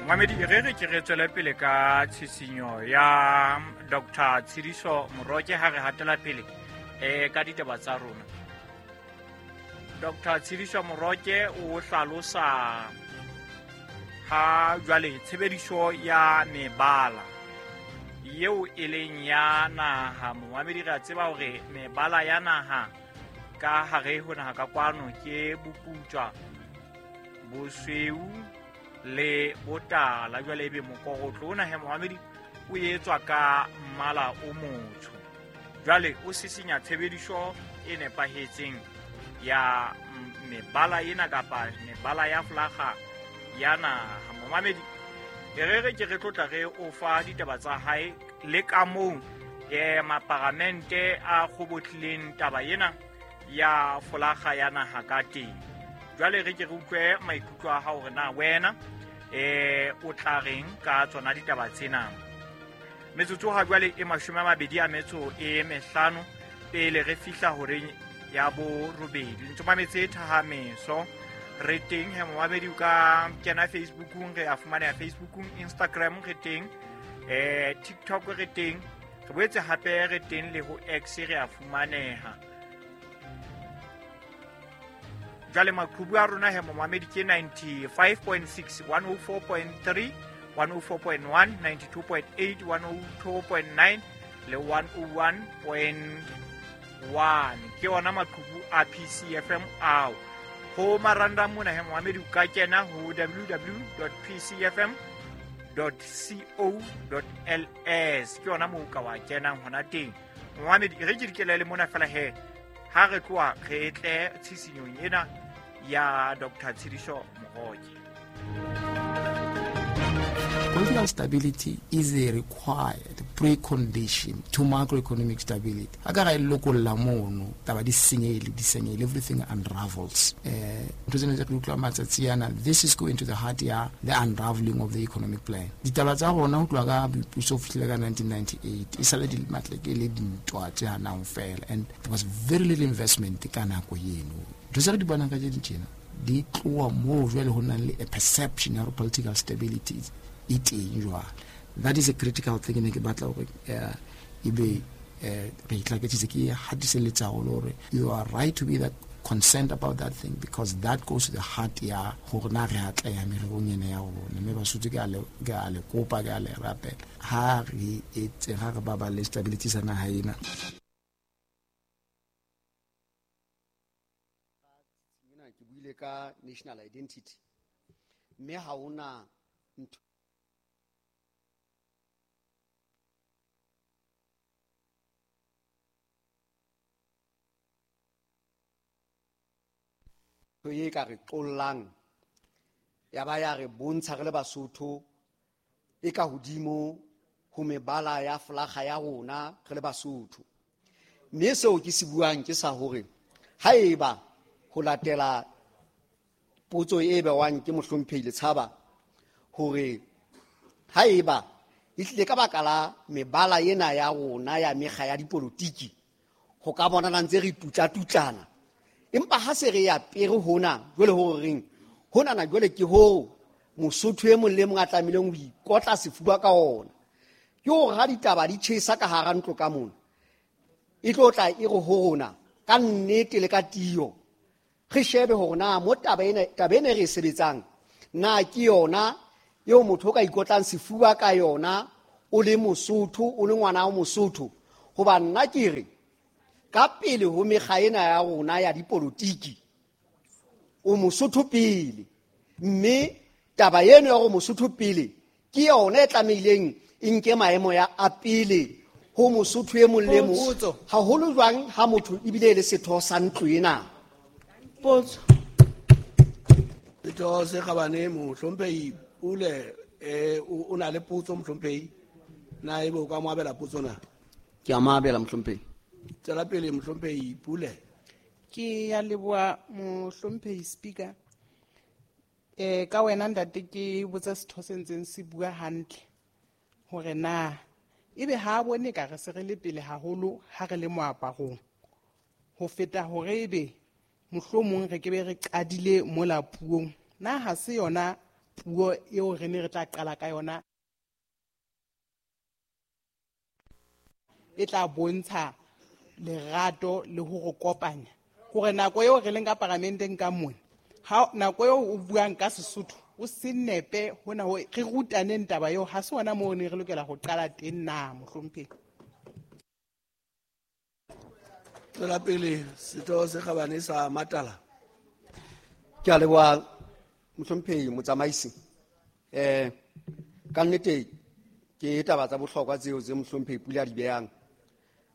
Momamedi, re re ke re tswele pele ka tshisinyo ya Dr. Tshidiso Moroke ha re hatela pele ka ditaba tsa rona. Dr. Tshidiso Moroke o hlalosa ha jwale tshebediso ya mebala eo e leng ya naha. Momamedi, re a tseba hore mebala ya naha ka hare ho naha ka kwano ke boputswa, bosweu le botala. Jwale ebe mokorotlo ona he momamedi o etswa ka mmala o motsho. Jwale o sisinya tshebediso e nepahetseng ya mebala ena kapa mebala ya flaga ya naha. Momamedi, e re re ke re tlotla re o fa ditaba tsa hae le ka moo maparamente a kgobotlileng taba ena ya folaga ya naha ka teng. Jwale re ke re utlwe maikutlo a hao hore na wena o tla reng ka tsona ditaba tsena. Metsotso ha jwale e 25 pele re fihla horeng ya borobedi. Ntse mametse Thahameso, re teng he momamedi, o ka kena Facebookung, re a fumaneha Facebookung, Instagram re teng, TikTok re teng, re boetse hape re teng le ho X re a fumaneha. Jwale maqhubu a rona he momamedi ke 95.6, 104.3, 104.1, 92.8, 102.9 le 101.1. Ke ona maqhubu a PCFM ao. Ho maranda mona he momamedi o ka kena ho www.pcfm.co.ls. Ke ona moo ka wa kenang hona teng. Momamedi, re ke dikelele mona fela he ha re tloha re tle tshisinyong ena ya Dr. Tshidiso Moroke. Political stability is a required precondition to macroeconomic stability. Ha ka ra e lokolla mono, taba di senyehile, di senyehile, everything unravels. Ntho tsena tse re utlwa matsatsi ana, this is going to the heart ya the unraveling of the economic plan. Ditaba tsa rona ho tloha ka boipuso ho fihlela ka 1998, e sale di matle ke le dintwa tse hanang fela, and there was very little investment ka nako eno. Ntho tse re di bonang ka tse tjena di tloha moo jwale ho nang le a perception ya political stability e teng jwale. That is a critical thing ne ke batla hore ebe re itlaketsitse ke hatiselletsa haholo hore you are right to be that concerned about that thing, because that goes to the heart ya hore na re atleha mererong ena ya rona. Mme Basotho ke a le kopa, ke a le rapela, ha re etse, ha re baballe stability sa naha ena. Ke buile ka national identity, mme ha hona ntho e ka re qollang ya ba ya re bontsha re le Basotho e ka hodimo ho mebala ya flaga ya rona re le Basotho. Mme seo ke se buang ke sa hore haeba ho latela potso e bewang ke mohlomphehi Letshaba hore haeba e tlile ka baka la mebala ena ya rona ya mekga ya dipolotiki ho ka bonana ntse re tutla-tutlana, empa ha se re ya pere hona jwale ho reng hona na jwale ke ho Mosotho e mong le mong a tlamehileng ho ikotla sefuba ka ona, ke hore ha ditaba di tjhesa ka hara ntlo ka mona, e tlo tla e re ho rona ka nnete le ka tiyo re shebe hore na mo taba ena re e sebetsang na ke yona eo motho o ka ikotlang sefuba ka yona o le Mosotho, o le ngwana wa Mosotho. Hoba nna ke re ka pele ho mekga ena ya rona ya dipolotiki o Mosotho pele, mme taba eno ya hore Mosotho pele ke yona e tlamehileng e nke maemo ya a pele ho Mosotho e mong le mong, haholo jwang ha motho ebile e le setho sa ntlo ena. Potso. Setho se kgabane mohlomphehi Pule, o na le potso mohlomphehi, na ebe o ka mo abela potso na? Ke a mo abela mohlomphehi. Tswela pele mohlomphehi Pule. Ke ya leboha mohlomphehi Speaker. Ka wena ntate ke botsa setho se ntseng se bua hantle hore na ebe ha bone ka re se re le pele haholo ha re le moaparong ho feta hore ebe mohlomong re ke be re qadile mola puong, na ha se yona Puo eo re ne re tla qala ka yona e tla bontsha lerato le ho re kopanya hore nako eo re leng ka paramenteng ka mona, ha nako eo o buang ka Sesotho o se nepe hona ho re rutaneng taba eo, ha se hona moo ne re lokela ho qala teng na, mohlomphehi? Tswela pele, Setho se Kgabane sa Matala. Ke a leboha, mohlomphehi motsamaisi. Ka nnete ke taba tsa bohlokwa tseo tse mohlomphehi Pule a di behang,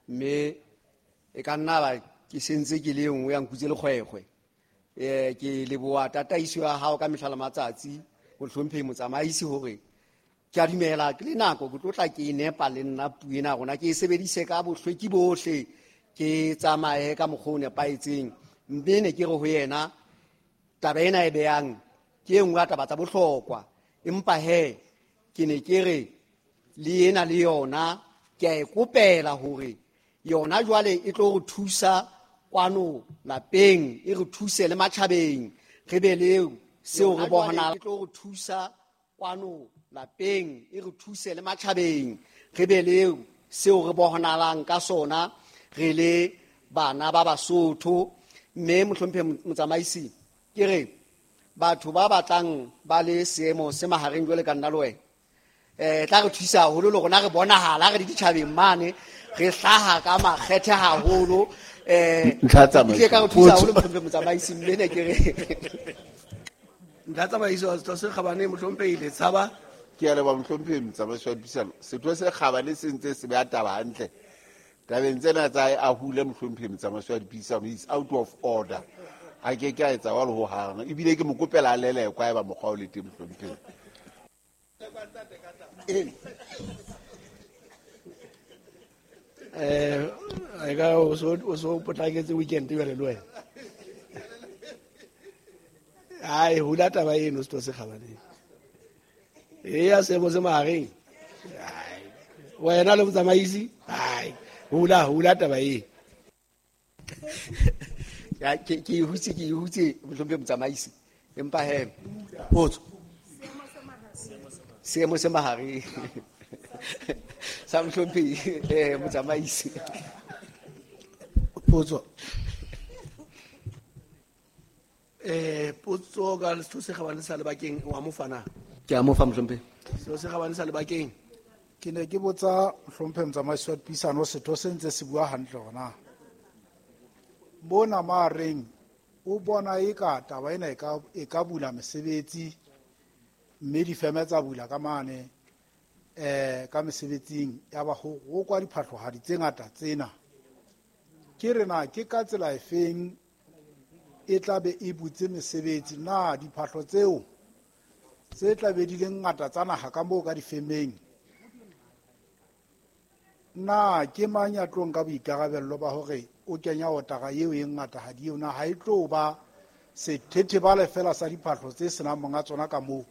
mme e ka nna ba ke sentse ke le e nngwe ya nkutse lekgwekgwe. Ke leboha tataiso ya hao ka mehla le matsatsi, mohlomphehi motsamaisi, hore ke a dumela ke le nako ke tlo tla ke e nepa le nna puo ena rona, ke e sebedise ka bohlweki bohle, ke tsamaye ka mokgwa o nepahetseng. Mme ne ke re ho yena taba ena e behang ke e nngwe ya taba tsa bohlokwa, empa he ke ne ke re le ena le yona ke a e kopela hore yona jwale e tlo re thusa kwano lapeng, e re thuse le matjhabeng, re be le seo re bona, e tlo re thusa kwano lapeng, e re thuse le matjhabeng, re be le seo re bonahalang ka sona re le bana ba Basotho. Mme mohlomphehi motsamaisi, ke re batho ba batlang ba le seemo se mahareng jwale ka nna le wena, tla re thusa haholo le rona re bonahala re le ditjhabeng mane, re hlaha ka makgethe haholo. Ntlha tsamaiso. Ke ka re thusa haholo mohlomphehi motsamaisi, mme ne ke re Ntlha tsamaiso, Setho se Kgabane mohlomphehi Letshaba. Ke a leboha mohlomphehi motsamaisi wa dipuisano. Setho se Kgabane se ntse se beha taba hantle tabeng tsena tsa hae, a hule mohlomphehi motsamaisi wa dipuisano, is out of order. A ke ke a etsa jwalo hohang, ebile ke mo kopela a lelekwa haeba mokgwa o le teng mohlomphehi. E ka o so potlaketse weekend jwale le wena. Ai, hula taba eno Setho se Kgabane. E ya seemo se mahareng. Ai, wena le motsamaisi, ai, hula taba e. Ya, ke e hutse, ke e hutse mohlomphehi motsamaisi. Empa he, potso. Seemo se mahareng. Sa mohlomphehi, motsamaisi. Potso. Potso ka Setho se Kgabane sa Lebakeng, wa mo fa na? Ke a mo fa mohlomphehi. Setho se Kgabane sa Lebakeng. Ke ne ke botsa mohlomphehi motsamaisi wa dipuisano, setho se ntse se bua hantle hona. Mona mahareng o bona eka taba ena e ka bula mesebetsi, mme difeme tsa bula ka mane, ka mesebetsing ya ba ho rokwa diphahlohadi tse ngata tsena. Ke re na ke ka tsela efeng e tla be e butse mesebetsi? Na diphahlo tseo tse tla be di le ngata tsa naha ka moo ka difemeng, na ke mang ya tlo nka boikarabello ba hore o kenya otara eo e ngata ha di eo? Na ha e tlo ba sethethebale fela sa diphahlo tse senang monga tsona ka moo,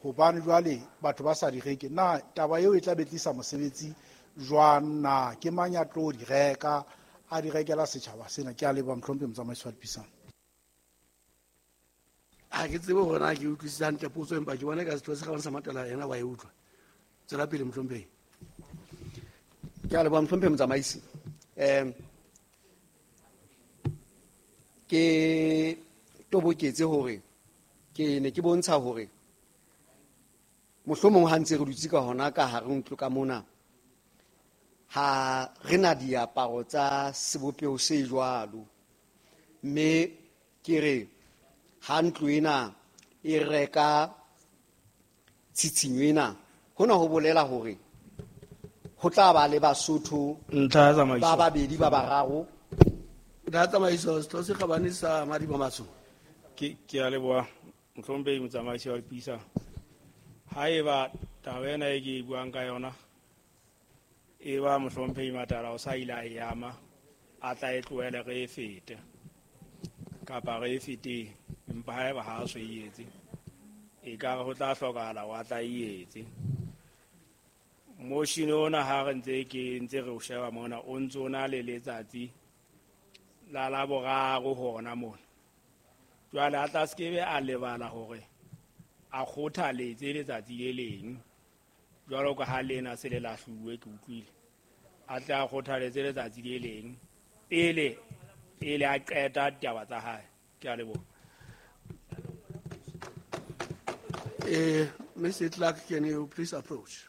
hobane jwale batho ba sa di reke? Na taba eo e tla be tlisa mosebetsi jwang? Na ke mang ya tlo di reka, a di rekela setjhaba sena? Ke a leboha mohlomphehi motsamaisi wa dipuisano. Ha ke tsebe hore na ke utlwisisa hantle potso, empa ke bona ka Setho se Kgabane sa Matala yena wa e utlwa. Tswela pele mohlomphehi. Ke a leboha mohlomphehi motsamaisi. Ke toboketse hore ke ne ke bontsha hore mohlomong ha ntse re dutse ka hona ka hare ntlo ka mona, ha re na diaparo tsa sebopeho se jwalo, mme ke re ha ntlo ena e reka tshitshinyo ena, hona ho bolela hore ho tla ba le Basotho Ntlha ya tsamaiso. ba babedi ba bararo. Ntlha ya tsamaiso, Setho se Kgabane sa Madiba Matsho. Ke a leboha mohlomphehi motsamaisi wa dipuisano. Haeba taba ena e ke e buang ka yona e ba mohlomphehi Matala o sa ile a e ama, a tla e tlohele re e fete kapa re e feteng, empa haeba ha a so e etse, e ka re ho tla hlokahala hore a tla e etse. Motion ona ha re ntse ke ntse re o sheba mona, o ntso o na le letsatsi la Laboraro hona mona. Jwale a tla se ke be a lebala hore A kgothaletse letsatsi le leng jwalo ka ha lena se le lahluwe, ke utlwile. A tle a kgothaletse letsatsi le leng pele pele a qeta ditaba tsa hae. Ke a leboha. Mr. Clark, can you please approach?